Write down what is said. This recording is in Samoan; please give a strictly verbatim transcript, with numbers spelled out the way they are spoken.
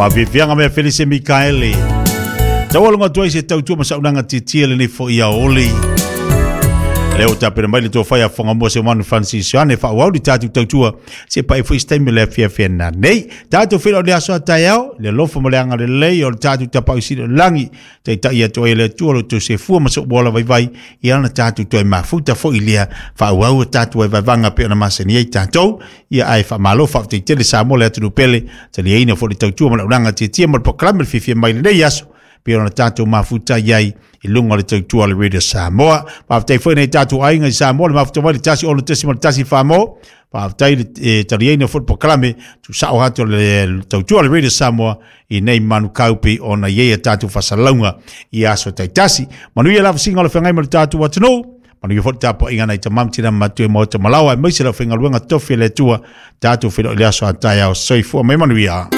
Faafiafiaga mea Felise Mikaele. Taualuga atu ai se tautua ma saunaga tietie lenei fo'i aoli. Lea ua tapena mai le tofa ia Fagamua Seumanu Francis Ioane faaauau le tatou tautua se pae foi se taimi o le afiafi nanei. Tatou feiloai i le aso a taeao, le alofa ma le agalelei o le tatou Tapaau Sili o le lagi, taitai atu ai e le Atua lo outou soifua ma sou ola vaivai, ia ona tatou toe mafuta foi lea faaauau a tatou vaevaevaga pei ona masani ai tatou. Ia ae faamalo faafetai tele Samoa le atunuu pele, taliaina foi le tautua ma le auaunaga tietie ma le polokalame le fiafia mai lenei aso pei ona tatou mafuta i ai i luga o le tautua le Radio Samoa. Faafetai foi nei tatou aiga i Samoa le mafuta mai le tasi ono tesi ma le tasi Samoa. Faafetai le e, taliaina foi le polokalame tuusao atu le tautua le Radio Samoa i nei manukau pei ona i ai a tatou fasalauga i aso taitasi. Manuia le vasiga o le feagai ma le tatou atunuu. Manuia foi le tapuaiga nai tama ma tina matua maota malawa aemaise le aufaigaluega tofi a le Atua. Tatou feiloai i le aso a taeao. Soifua ma ia manuia.